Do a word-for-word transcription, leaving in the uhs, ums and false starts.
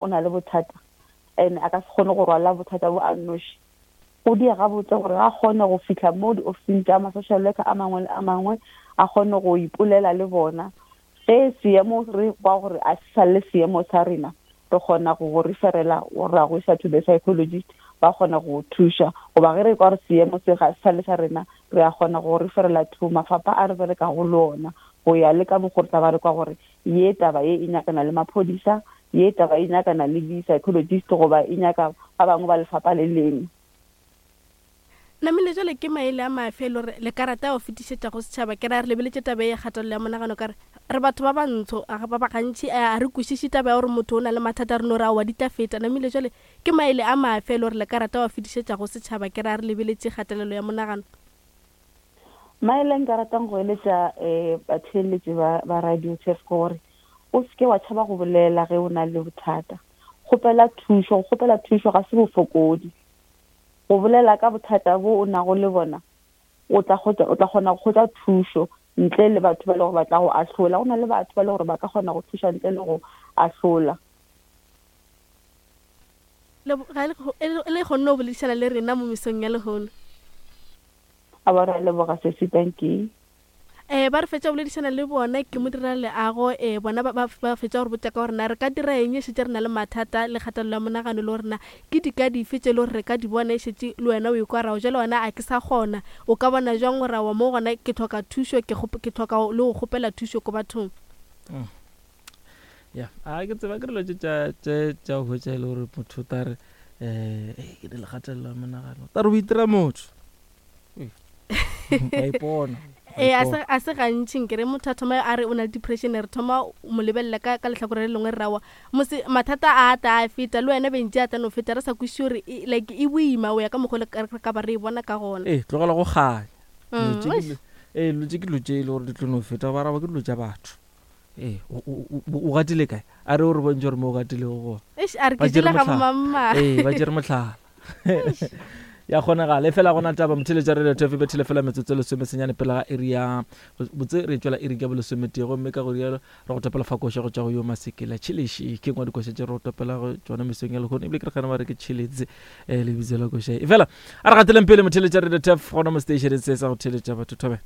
o na le bothata and a ka se kgone go rwala bothata bo a nnoši, go dia gabotse gore a kgone go fihla mo di-officing tša ma-social worker a mangwe le a mangwe, a kgone go ipolela le bona. Ge seemo re kwa gore a se sa le seemo sa rena, re kgona go go referela ra go isa to the psychologist, ba kgona go thuša. Goba ge re kwa gore seemo se ga se sa le sa rena, re a kgona go referela to mafapha a re berekago le ona, go ya le ka mokgo re tla ba re kwa gore ye taba ye e nyakana le maphodisa, ye taba e nyakana le di-psychologist, goba e nyaka ba bangwe ba lefapha le lengwe. Namile jale ke maele a mafe e le gore le ka rata go fetišetša go setšhaba? Ke ra re lebeletše taba e kgatelelo ya monagano, ka re re batho ba bantsho ba ba gantši a re kwešiše taba ya gore motho o na le mathata, re no re aowa di tla feta. Namile jale ke maele a mafe e le gore le ka rata go fetišetša go setšhaba? Ke ra re lebeletše kgatelelo ya monagano. Maele nka ratang go eletša um batheeletši ba ba Radio Turf ke gore o seke wa tšhaba go bolela ge o na le bothata. Kgopela thušo, go kgopela thušo ga se bofokodi. Go bolela ka bothata bo o nago le bona, o tla o tla kgona go hwetša thušo ntle le batho ba le gore ba tla go ahlola. Go na le batho ba le gore ba ka kgona go thuša ntle le go ahlola. Le kgonne go boledišana le rena mo mesong ya lehono. A ba re leboga sesi, thank you. Eh ba re fetša go boledišana le bona ke mo dira leago, eh bona ba ba fetša gore botša ka gore na re ka dira eng e šetše re na le mathata le kgatelelo ya monagano, le gore na ke dika dife tše le gore re ka di bona e šetše le wena o ikwa ra jale wena a ke sa kgona. O ka bona jwang gore aowa mo gona ke tlhoka thušo, ke ke tlhoka le go kgopela thušo ko bathong? Ya a ke tseba ke dilo tše tša tša go hwetša e le gore motho o tla re um ke le kgatelelo ya monagano, ta re o itira motho wa ipona. Ee, a se gantši nkere motho a thoma a re o na le depression, re thoma mo lebelela ka ka lehlakore le lengwe, re rawa mose mathata a ta a feta le wena bentši a tla no feta, re sa kwešiše gore like e boima o ya ka mokgwa le ka ba re e bona ka gona. Ee, tlogela go kganya. Ee, dilo tše ke dilo tše e le gore di tlo no feta, ba raba ke dilo tša batho. Ee, o gatile kae? A re o re bontšhe gore mo o gatilego gona. Eish, a re ke jele ga bomamma. Ee, ba tšere mohlala. Ya kgonagala e fela gona taba motheletša Radio Turf e bethile fela metsotso lesome senyane pele ga iri ya botse, re tšwela iri ka bolesometee, gomme ka go rialo re go topela fa koša go tšwa go yo Masekela Tšhilisi. Ke ngwa dikoša tše re go topela go tšona mesong ya lehono, ebile ke re gane ba re ke Tšhilisi um lebitso la koša e. Fela a re gateleng pele motheletša Radio Turf gona mo stationeng se sa go theletša batho. Thobela.